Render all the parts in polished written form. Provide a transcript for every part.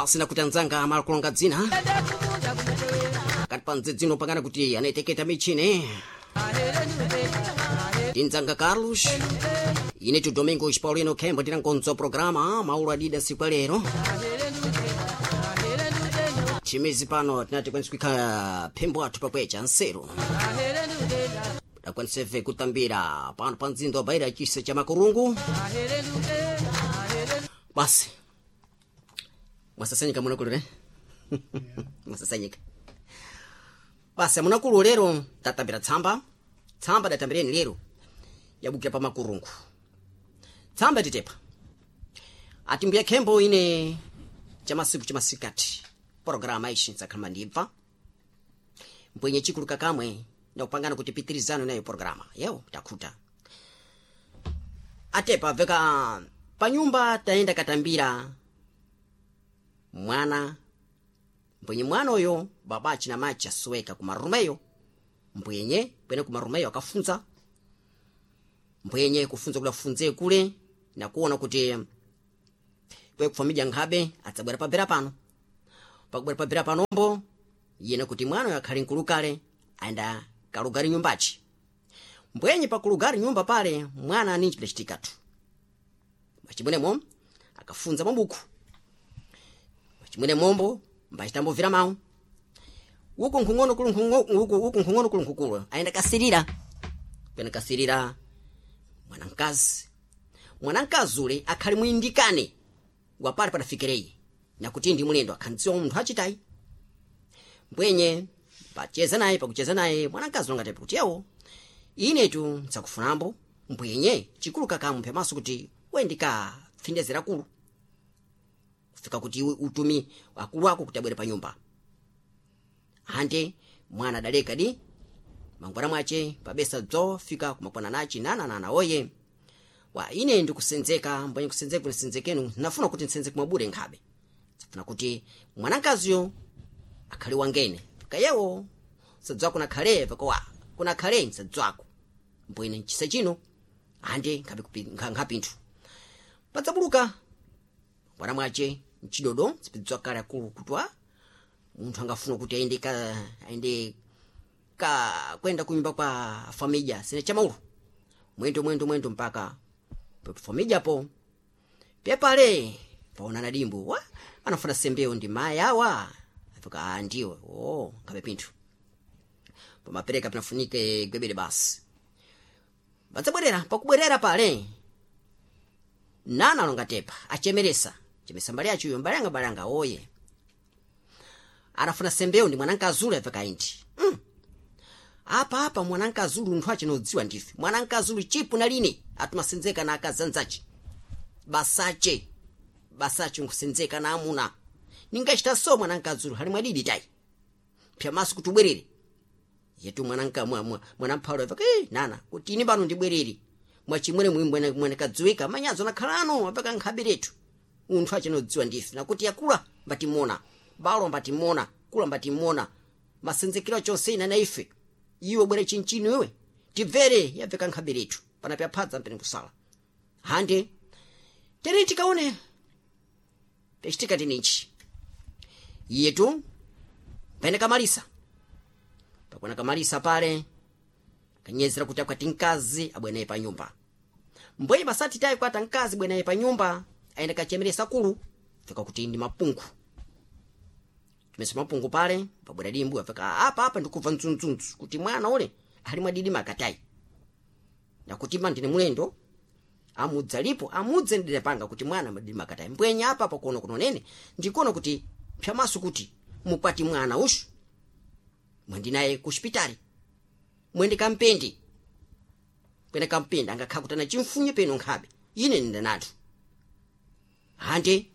Basi nakuti anzanga amakulonga dzina kati panze dzino pangana kuti anayiteketa michini tinzanga Carlos ine tu Domingos Paulino Kembo tinankonzo programa maulu adida siku lero chimizi pano tinati kwensi kuikhala phembo athu pakwecha nseru dakwaniseve kutambira pano pa mzinda wa Beira chisa cha Makurungu. Basi mwasasanyika munakulu ne mwasasanyika basi munakulu lero tatambira tsamba tsamba datambireni lero yabukira pa Makurungu. Tsamba titepa ati mbuya Khembo ine chamasiku chamasikati programa ishi ntsakhalama ndibva mbwenye chikulu kakamwe ndakupangana kuti pitirizano nayo programa yewo takhuta atepa veka panyumba tayenda katambira mwana mbwenye mwana uyo babachi na machi asuweka kumarumeyo mbwenye pwene kumarumeyo akafunza mbwenye kufunza kula funze kule nakuona kuti kwe kufamidya nkhabe adzabwera pabera pano pakubwera pabera panombo yena kuti mwana uyo akhali nkulu kale ayenda kalugari nyumbachi mbwenye pakulugari nyumba pale mwana aninji pidachitikatu mwachimwene akafunza mabuku mwachimwene mombo mbachitambovera mawu uku nkhung'ono kulu uku uku nkhung'ono kulu nkhukulu ayenda kasirira pena kasirira mwanamkazi mwanamkazi ule akhali mwindikane wapale padafikireyi nakuti ndi mulendo akhandziwa munthu achitayi mbwenye pacheza naye pakucheza naye mwanamkazi wangatepa kuti yewo inetu nsakufunambo mbwenye chikulu kakamu pyamaso kuti wendika pfindezera kulu kufika kuti iwe utumi akulu ako kuti abwere pa nyumba ande mwana adaleka di mangwana mwace pabesa dzo fika kumakwana nachi nananana oye wa ine ndikusenzeka mbwenye kusenzeka kunisenzekenu nafuna kuti nsenzeke mwabure nkhabe safuna kuti mwanamkaziyo akhale wangene kayewo sadzwako nakhale pakowa kunakhale nsadzwako mbwene nchisa chino ande nkhapinthu padzabuluka mwana mwace mchidodo sipidzwa kale akulu kutwa munthu angafuna kuti ayende ka ayende ka kwenda kunyumba kwa famija sine chamaulu mwendo mwendo mwendo mpaka famija po pepale paonana dimbu wa anafuna sembeo ndi mayi awa afika ah ndiwe oh ngabe pinthu pamapereka pinafunike gwebere basi badzabwerera pakubwerera pale nana alonga tepa achemeresa chemesa mbali yacho iyo mbali yanga mbali yanga oye anafuna sembeo ndi mwanamkazi afika indi Apa apa mwanamkazi nthu achinodziwa ndife mwanamkazi chipu na line atumasenzeka na akazanzache basache basache nkusenzeka na amuna ningachita so mwanamkazi hali mwadidi tayi pyamaso kuti ubwerere yetu mwananka mwanamphalo apaka eh nana kuti ine pano ndibwerere mwachimwere mwimwe mwanakadziwika manyazo nakhalano apaka nkhaberetu unthu achinodziwa ndife nakuti yakula mbatimona balo mbatimona kula mbatimona masenzekero chonse ina na ife iwe bwere chinchino iwe tibvere yabveka nkhaberetu pana pyaphadza mpene kusala hande tere tikaone pechitika tininchi iyetu pene kamalisa pakwana kamalisa pale kanyezera kuti akwati mkazi abwenaye pa nyumba mbwenye pasati tayi kwata mkazi bwenaye pa nyumba ayenda kachemeresa kulu fika kuti ndi mapungu chimese mapungu pale pabwera dimbu afika apa apa ndikubva ndzundzundzu kuti mwana ule ali mwadidi makatayi nakuti ma ndine mulendo amudza lipo amudze ndidapanga kuti mwana mwadidi makatayi mbwenye apa apa kuona kunonene ndikuona kuti pyamaso kuti mukwati mwana ushu mwendinaye ku xipitali mwende kampendi kwene kampendi angakhala kuti ana chimfunye peno nkhabe ine nindanathu hande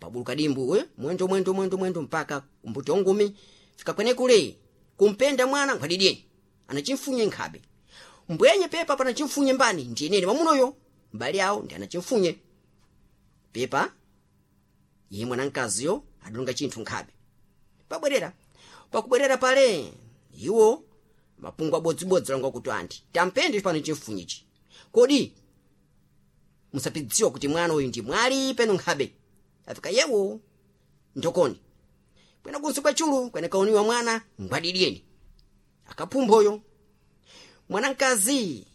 pabuluka dimbu we mwendo mwendo mwendo mwendo mpaka kumbuti ongumi fika kwene kule kumpenda mwana nkhwadidiyeni ana chimfunye nkhabe mbwenye pepa pana chimfunye mbani ndiyenene mwamunoyo mbali awo ndi ana chimfunye pepa iye mwanamkaziyo adalonga chinthu nkhabe pabwerera pakubwerera pale iwo mapungu abodzibodzi langa kuti anti tampende pano chimfunyichi kodi musapidziwa kuti mwana uyu ndi mwali peno nkhabe afika yewo Ndokoni kwena kunsi kwa chulu kwene kaoniwa mwana ngwadidyeni akaphumphoyo mwanamkazi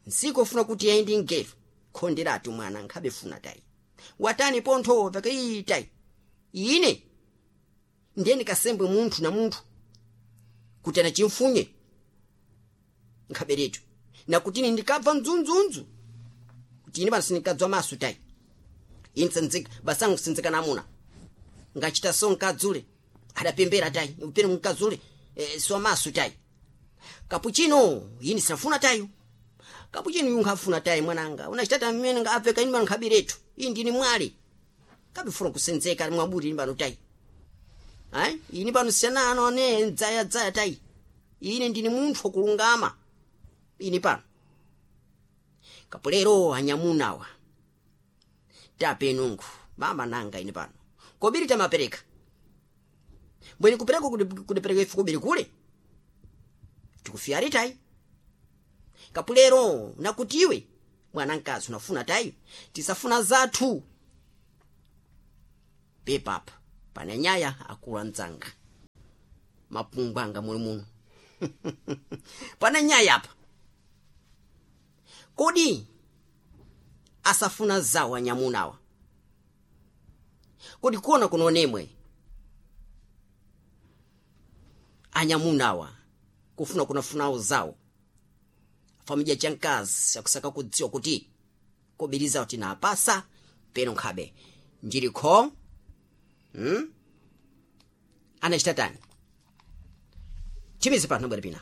nsiku ofuna kuti aindi ngeru khonderatu mwana nkhabe funa tayi watani pontho vakaitayi ine ndiyeni kasembwe munthu na munthu kuti anachimfunye nkhaberetu nakutini ndikabva mdzundzundzu kuti ine pano sindikadzwa maso tayi ine sanzika basangu sinzika namuna ngachita so nkadzule adapembera tayi upene mkadzule siwa maso tayi kapuchino ine sinafuna tayo kapuchino yunkhafuna tayi mwananga unachitata mmene ngaapfeka ine pano nkhaberetu iyi ndini mwali kabifuna kusenzeka mwabuti ine pano tayi ayi ine pano siyanano ane dzaya tayi ine ndini munthu wakulungama ine pano kapulero anyamunawa tapenungu mama nanga ine pano kobiri tamapereka mbweni kupereka kudipereka ife kobiri kule tikufiyari tayi kapulero nakutiwe mwanamkazi unafuna tayi tisafuna zathu pepapa pane nyaya akulu mdzanga mapungu anga muli muno pane nyaya apa kodi asafuna zawo anyamunawa kodi kuona kunonemwe anyamunawa kufuna kunafunawo zawo famidya chamkazi akusaka kudziwa kuti kobiri zawo tinapasa peno nkhabe njilikho Anachita tani chimizi pano bwera pina.